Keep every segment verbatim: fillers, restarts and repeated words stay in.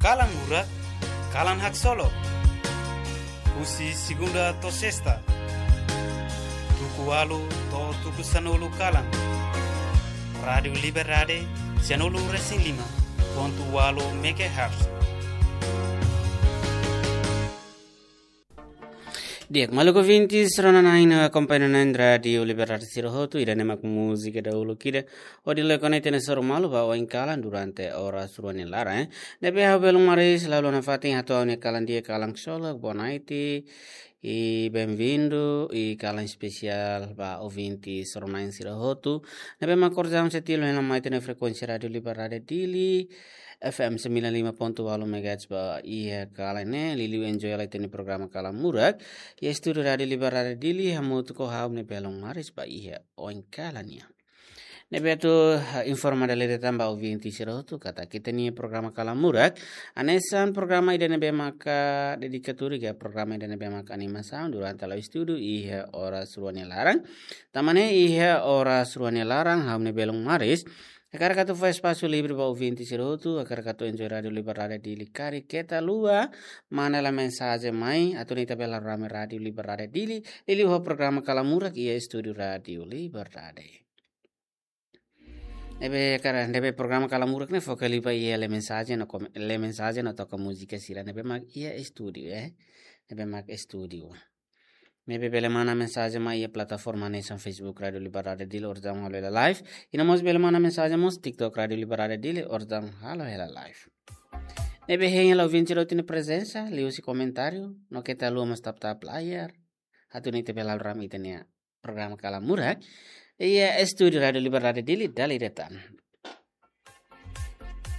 Kalan Murak, kalan haksolok. Husi segunda to'o sesta, tuku ualu to'o tuku sanulu kalan. Rádiu Liberdade, sanulu resin lima pontu ualu megahertz. Di'ak, maluk ouvintes, rona-na'in no akompaña na'in Rádiu Liberdade sira hotu, ida-ne'e mak múzika dahuluk ida hodi lori ona ita-nia soru malu ba oin kalan durante oras rua nia laran, eh. Ne'ebé ha'u belun Maris, la uluk nafatin hato'o ha'u-nia kalan di'ak, kalan haksolok, boa noite, i bem-vindo, i kalan espesiál ba ouvintes rona-na'in sira hotu ne'ebé mak orsida setiap hela mai ita-nia frekuénsia Rádiu Liberdade Dili, F M sembilan lima pontu ualu megahertz ba iha kalan ne'e, liuliu enjoy hela ita-nia programa Kalan Murak iha estúdiu Rádiu Liberdade Dili, hamutuk ho ha'u-nia belun Maris ba iha oin kalan nian. Ne'ebé atu, eh, informa dala ida tan ba ouvinte sira hotu katak ita-nia programa Kalan Murak hanesan programa ida ne'ebé maka dedikadu ka programa ida ne'ebé maka animasaun durante la'o estudu iha oras rua nia laran. Tanba ne'e iha oras rua nia laran, ha'u-nia belun Maris hakarak atu fó espasu livre ba ouvinte sira hotu, hakarak atu enjoy Rádiu Liberdade Dili karik keta haluha manda hela mensajen mai, atu nune'e ita bele rame Rádiu Liberdade Dili, liuliu ho programa Kalan Murak iha estúdiu Rádiu Liberdade. Ne'ebé karik, ne'ebé programa Kalan Murak ne'e foka liu ba iha lee mensajen no kom-, lee mensajen no toka múzika sira ne'ebé mak iha estúdiu, eh. Ne'ebé mak estúdiu. Ne'ebé bele manda mensajen mai iha plataforma hanesan Facebook Rádiu Liberdade Dili, orsida halo hela live. I no mós bele manda mensajen mós TikTok Rádiu Liberdade Dili, orsida halo hela live. Ne'ebé hein hela ouvinte sira hotu nia prezensa, liuhusi komentáriu, no keta haluha mós tap-tap layar, atu nune'e ita bele rame ita-nia programa Kalan Murak iha estúdiu Rádiu Liberdade Dili dala ida tan.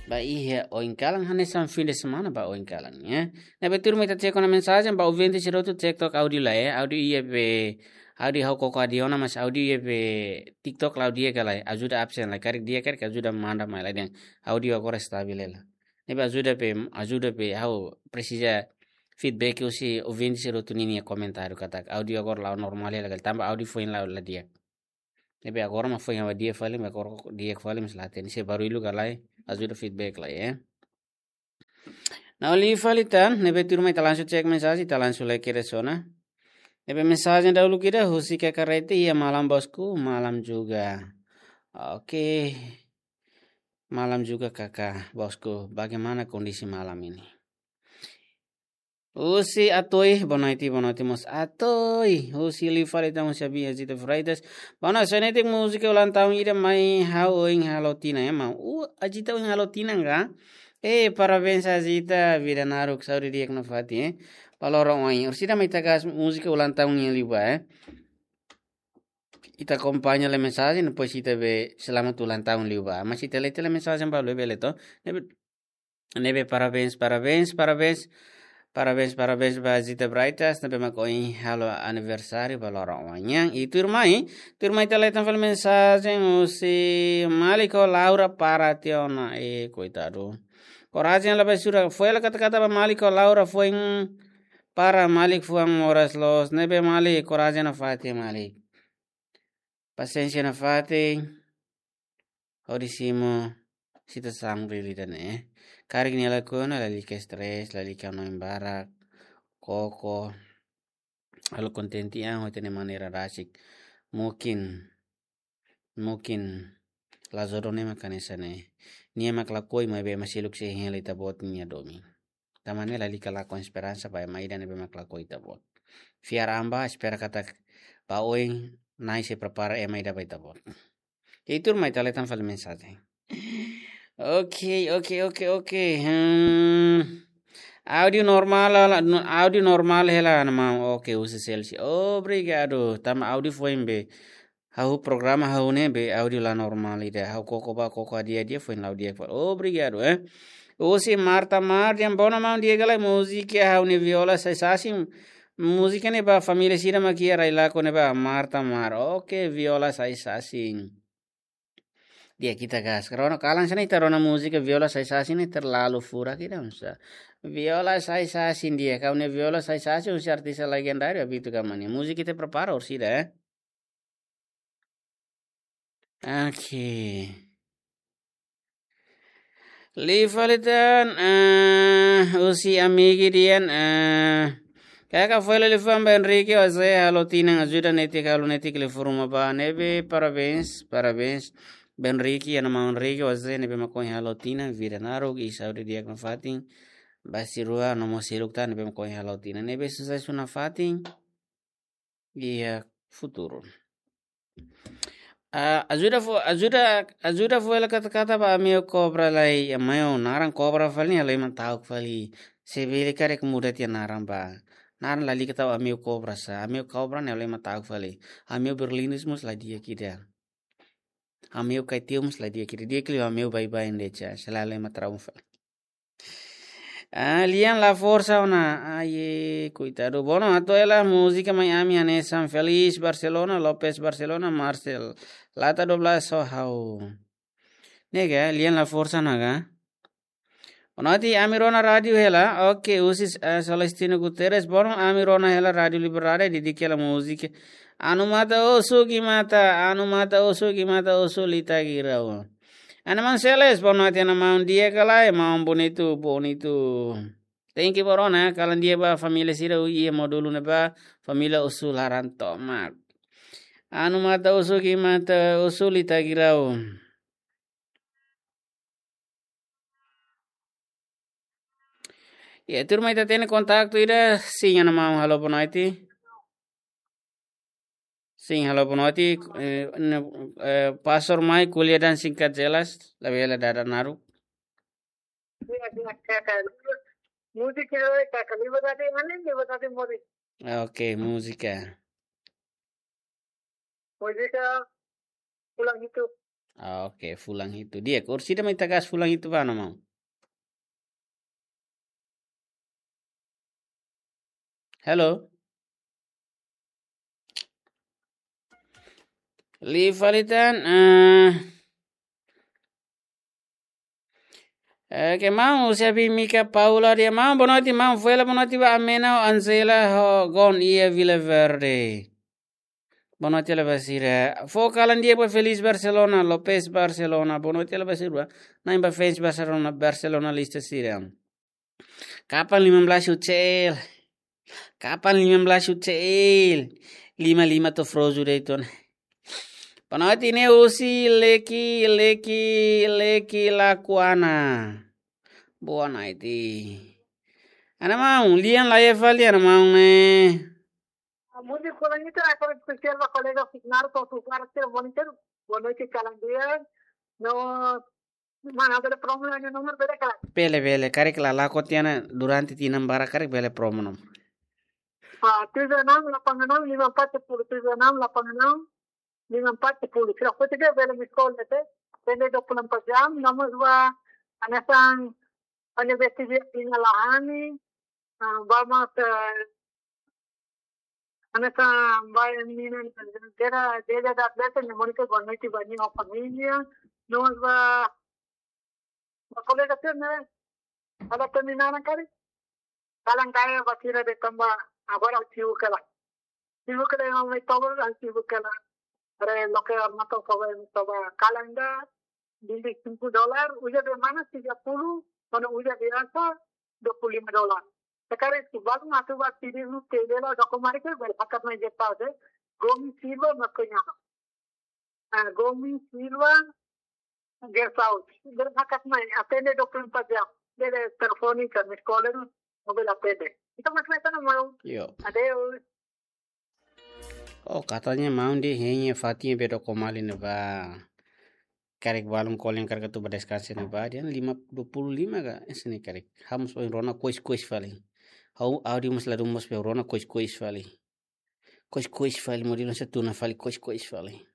Ba iha oin kalan hanesan fim de semana ba oin kalan, ya. Ne'ebé tuirmai ita cek ona mensajen ba ouvinte sira hotu, cek took áudiu lai, eh. Áudiu iha be, áudiu ha'u koko áudiu ona, mas áudiu iha be TikTok la'o di'ak ka lae, ajuda absen lai, karik di'ak karik ajuda manda mai lai dehan áudiu agora estavel hela. Ne'ebé ajuda be, ajuda be, ha'u presiza feedback husi ouvinte sira hotu ninia komentáriu katak áudiu agora la'o normál hela ka lae, tanba áudiu foin la'o la di'ak. Ne'ebé agora mak foin ha'u di'ak fali, mak agora di'ak fali, mas la hatene se barullu ka lae, ajuda feedback lai, eh. Nah, liu fali tan, ne'ebé tuirmai ita langsung cek mensajen, ita langsung lai kedas ona. Ne'ebé mensajen dahuluk ida husi Kaka Rete, "Iya malam bosku, malam juga." Oke. Malam juga Kaka, bosku. Bagaimana kondisi malam ini? Husi Atoi, boa noite, boa noite mós Atoi. Husi liu fali tan husi Abi Azita Freitas. Boa noite, só netik múzika ulang tahun ida mai ha'u ohin halo tinan, ya, maun. Uh, Azita ohin halo tinan ka? Eh, parabéns Azita, vida naruk, saúde di'ak nafatin, eh. Ba loron oin. Orsida mai ita gas múzika ulang tahun nian liubá, eh. Ita akompaña lee mensajen, depois ita be selamat ulang tahun liubá. Mas ita lee, ita lee mensajen ba liubá bele to. Ne'ebé, ne'ebé parabéns, parabéns, parabéns. Parabéns, parabéns ba Zita Brightas, ne'ebé mak ohin halo aniversáriu ba loron oin nian. I tuirmai, tuirmai ita lee tan fali mensajen husi Malik ho Laura para tiha ona. Eh, koitadu. Korajen la bai sura. Foin hela kata-kata ba Malik ho Laura, foin para Malik fuan moras loos. Ne'ebé Malik, korajen nafatin Malik. Pasiénsia nafatin. Hodi simu situasaun realidade ne'e. Karik nia lakohi ona, lalika stress, lalika hanoin barak, koko, halo kontente an ho ita-nia maneira rasik. Mungkin, mungkin la jodoh ne'e mak hanesan ne'e. Nia mak lakohi maibé maka seluk sei hein hela ita-boot nia domin. Tanba ne'e lalika lakon esperansa ba ema ida ne'ebé mak lakohi ita-boot. Fiar an ba, espera katak ba oin Na'i sei prepara ema ida ba ita-boot. Tuirmai ita lee tan fali mensajen. Oke, oke, oke, oke. Hmm. Áudiu normál, la, no, áudiu normál hela, maun. Oke, husi Celsi. Obrigadu. Tanba áudiu foin be ha'u programa ha'u ne'e be áudiu la normál ida. Ha'u koko ba, koko hadi'a di'ak, foin la'o di'ak fali. Obrigadu, eh. Husi Marta Mar, dehan, "Boa noite maun, di'ak ka lae múzika Ha'u-nia Viola Sai Sasin." Múzika ne'e ba família sira mak iha rai lakon ne'ebá, Marta Mar. Oke, Viola Sai Sasin. Di'ak, ita gas. Rona kalan sira ne'e ita rona múzika Viola Sai Sasin ne'e terlalu furak ida, maun. Viola Sai Sasin di'ak, Ha'u-nia Viola Sai Sasin, husi artis legendáriu Abito Gama nian. Múzika ita prepara orsida, eh. Oke. Liu fali tan, ah, husi amigu nian, ah, kaka foin liu fali ba Enrique José halo tinan ajuda netik halo netik liu fali ruma ba ne'ebé, parabéns, parabéns. Ba Enrique, iha maun Enrique José ne'ebé mak ohin halo tinan, vida naruk i saúde di'ak nafatin. Ba sira rua no mós seluk tan ne'ebé mak ohin halo tinan, ne'ebé susesu nafatin iha futuru. Ah, ajuda fó, ajuda, ajuda fó hela katak-katak ba amiu kobra lai, amiu naran kobra fali, halo ema ta'uk fali. Se bele karik muda tiha naran ba. Naran lalika tau amiu kobra sá, amiu kobra ne'e halo ema ta'uk fali. Amiu berlines mós la di'ak ida. Amiu kaitiu mós la di'ak ida. Di'ak liu amiu baibain de'it, selalu ema trauma fali. Ah, Lian la forsa ona. Ai, koitadu. Bono, atu hela múzika mai ami hanesan Felix Barcelona, Lopez Barcelona, Marcel. Lata dua belas ho ha'u. Ne'e ka, Lian la forsa ona ka? Bonoite, ami rona rádiu hela. Oke, husi, eh, Celestino Guterres. Bono, ami rona hela Rádiu Liberdade, didik hela múzika. Anu mata osu ki mata, anu mata osu ki mata osu lita girau. Ana maun Celes, bonoite ana maun di'ak ka lae, maun bonitu, bonitu. Thank you, bono, eh, kalan di'ak ba família sira iha módulu ne'ebá, família osu laran tomak. Anu mata osu ki mata osu lita girau. Ya, turma ita hatene kontaktu ida, sin, ana maun, halo bonoite. Sin, halo bonoite, eh, ne-, eh, Pastor mai ko'alia dehan singkat jelas, labele dada naruk. Iya, iya, kaka. Múzika, kaka, liberdade, mana liberdade mori. Oke, múzika. Múzika, fulan hitu. Oke, fulan hitu. Di'ak, orsida mai ita gas fulan hitu ba, ana maun. Halo? Liu fali tan, eh, eh, ke maun, husi Abi Mika Paula dehan, maun, bonoite, maun, fó hela bonoite ba Amena ho Angela ho Gon iha Vila Verde. Bonoite hela ba sira. Fó kalan di'ak ba Felix Barcelona, Lopez Barcelona. Bonoite hela ba sira. Na'in ba fans Barcelona, Barcelona lista sira. Kapan lima belas U C L? Kapan lima belas U C L? Lima lima to frozu dei ton. Bonoite ne'e husi Leki, Leki, Leki Lakuana. Bonoite. Ana maun, Lian la iha fali, ana maun ne'e. Múzika fulan hitu, agora espesiál ba kolega Fernando, para tu para ser monitor. Bonoite, kalan di'ak. No, mana bele promo nia nomor bele kalan. Bele, bele. Karik lala'ok tiha ona durante tinan barak karik bele promo nomor. Ah, tujuh enam delapan enam lima empat sepuluh, tujuh enam delapan enam lima empat sepuluh. Sira hotu de'it bele miss call de'it. Atende dua puluh empat jam, nomor dua, hanesan universitas ina la hani, ah, ba mós, eh, hanesan ba menina, gera, gera da beta, nia monitor bonoite ba nia família, nomor ba, ba kolega sira ne'e, ada terminal kali, kalan kaya ba sira de'it tanba, agora ha'u sibuk hela. Sibuk hela, ha'u mai toba, ha'u sibuk hela. Para loke armato toba, toba kalan ida, vinte e cinco dólar, uza be mana tiga puluh, mana uza be asa, dua puluh lima dólar. Sekarang itu baru masuk ba sini, nu tele la, doko mari ke, bel hakat mai jepal de, Gomi Silva, makonya. Ah, Gomi Silva, guest house. Bel hakat mai, atende dua puluh empat jam. Bele telefone ka, miss call, no bele atende. Ita mas mai sana mau. Yo. Adeus. Oh, katanya maun dehan hein fatin be doko mali ne'ebá. Karik balun kolen karik atu ba deskansa ne'ebá, dehan lima, dua puluh lima ka, ese ne'e karik. Ha'u mós ohin rona kois-kois fali. Ha'u áudio mós ladún mós be rona kois-kois fali. Kois-kois fali, modelu se tuna fali, kois-kois fali.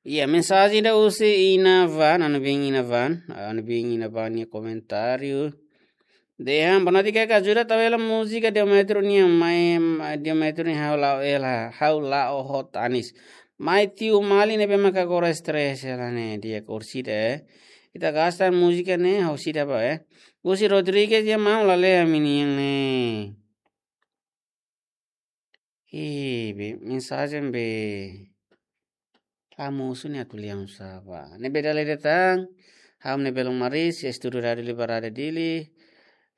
Iya, mensajen ida husi Inavan, anu bin Inavan, anu bin Inavan nia komentáriu. Dehan, bonoite, kaka ajuda tau hela múzika Diometro nian, mai, mai Diometro nian ha'u la'o hela, ha'u la'o hot anis. Mai tiu mali ne'ebé maka agora stress hela ne'e, di'ak orsida, eh. Ita gasta múzika ne'e, ha'u sida ba, eh. Husi Rodrigues dehan maun la lee ami-nian ne'e. Ih, be, mensajen be. Kamu suni atu lian saba. Ne'ebé dala ida tan. Ha'u-nia belun Maris, estúdiu Rádiu Libertária Dili.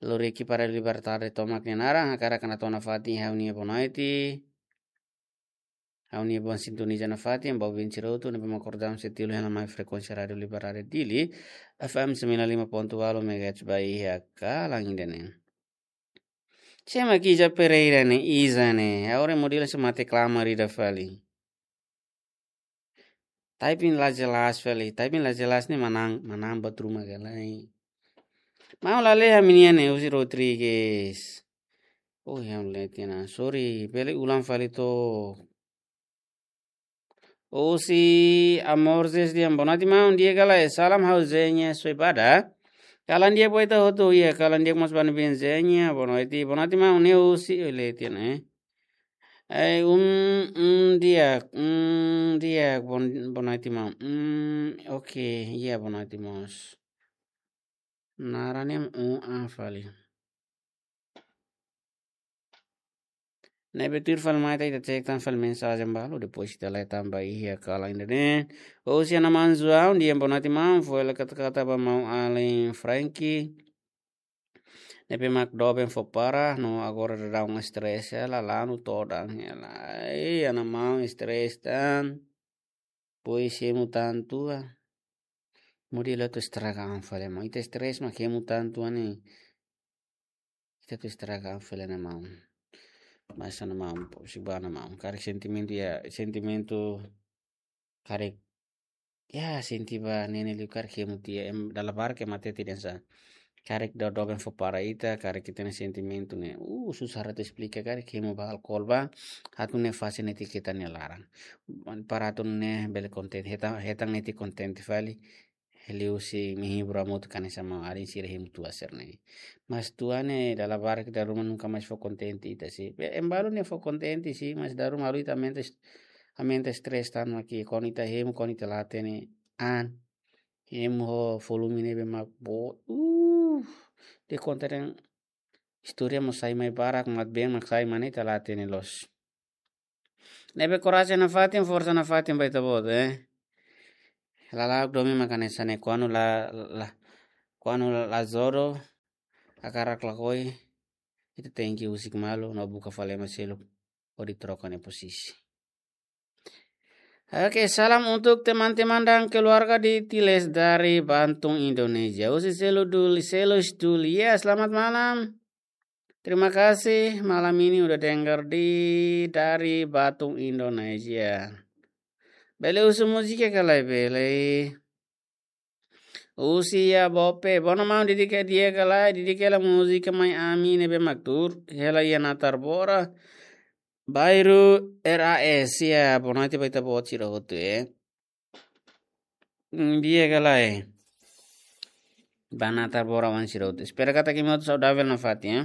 Lori ekipa Rádiu Libertária tomak nia naran, hakarak hato'o nafatin ha'u-nia boa noite. Ha'u-nia boa sintoniza nafatin ba ouvinte sira hotu ne'ebé mak akorda setiap hela mai frekuénsia Rádiu Libertária Dili, F M sembilan lima ponto walu megahertz ba iha kalan ida-ne'e. Sé mak Iza Pereira ne'e, Iza ne'e. Agora model sé mak reklama ida fali. Typing la jelas fali. Typing la jelas ne'e manán, manán ba truma ka lae. Maun la lee ha'u-nia ne'e, Uzi Rodrigues. Oh, ya, lee tiha ona. Sorry, bele ulang fali to. Uzi Amor Zes dehan, boa noite maun, di'ak ka lae? Salam ha'u Zenya Soibada. Kalan di'ak ba ita hotu, iha kalan di'ak mós ba ne'ebé Zenya, boa noite, boa noite maun, ne'e Uzi, oh, lee tiha ona, eh. Eh, um, um, di'ak, um, di'ak, boa, boa noite maun. Um, oke, iha boa noite mós. Naran ne'e um, ah, fali. Ne'ebé tuir fali mai ita, ita cek tan fali mensajen balu, depois ita lee tan ba iha kalan ida-ne'e. Uzi, ha'u-nia maun João dehan, boa noite maun, fó hela kata-kata ba maun alin Frankie. Ne'ebé mak doben fó para, no agora daudaun stress hela, lanu todan hela. Ai, ha'u-nia maun stress tan. Pois hemu tan tua. Mudi la tu estraga an fali maun. Ita stress mak hemu tan tua ne'e. Ita tu estraga an fali ha'u-nia maun. Mas ha'u-nia maun, po, si ba ha'u-nia maun. Karik sentimentu ya, sentimentu karik. Ya, senti ba ne'e ne'e liu karik hemu tiha, em, dala barak ema hatete dehan sá. Karik daudaun doben fó para ita, karik ita-nia sentimentu ne'e. Uh, susar atu esplika, karik hemu ba alkol ba. Atu ne'e fase netik ita-nia laran. Para atu ne'e bele kontente, hetan, hetan netik kontente fali. Liuhusi menghibur hamutuk hanesan maun alin sira hemu tua sira-ne'e. Mas tua ne'e dala barak ita ruma nunka mais fó kontente ita sih. Be, em balu ne'e fó kontente sih, mas dala ruma halo ita aumenta est-, aumenta stress tan mak, kuandu ita hemu, kuandu ita la hatene an. Hemu ho volume ne'ebé mak boot. Uh, de'it konta dehan istória mós sai mai barak, mak been mak sai mai ne'e ita la hatene loos. Ne'ebé korajen nafatin, forsa nafatin ba ita-boot, eh. Lala'ok domin mak hanesan ne'e, kuandu la, la, kuandu la jodoh, hakarak lakohi, ita tenke husik malu, no buka fali ema seluk, hodi troka nia posisi. Oke, salam untuk teman-teman dan keluarga di Tiles dari Bantung, Indonesia. Uzi Selu Duli, Selus Duli. Ya, selamat malam. Terima kasih malam ini udah dengar di, dari Bantung, Indonesia. Bele husu múzika ka lae, bele? Uzi ya bope, bono mau dedika di'ak ka lae, dedika hela múzika mai ami ne'ebé mak tuur hela iha Natarbora, bairru R A S, ya, boa noite ba ita-boot sira hotu, eh. Hmm, di'ak ka lae? Ba Natarbora oan sira hotu. Espera katak imi hotu saudavel nafatin, ya.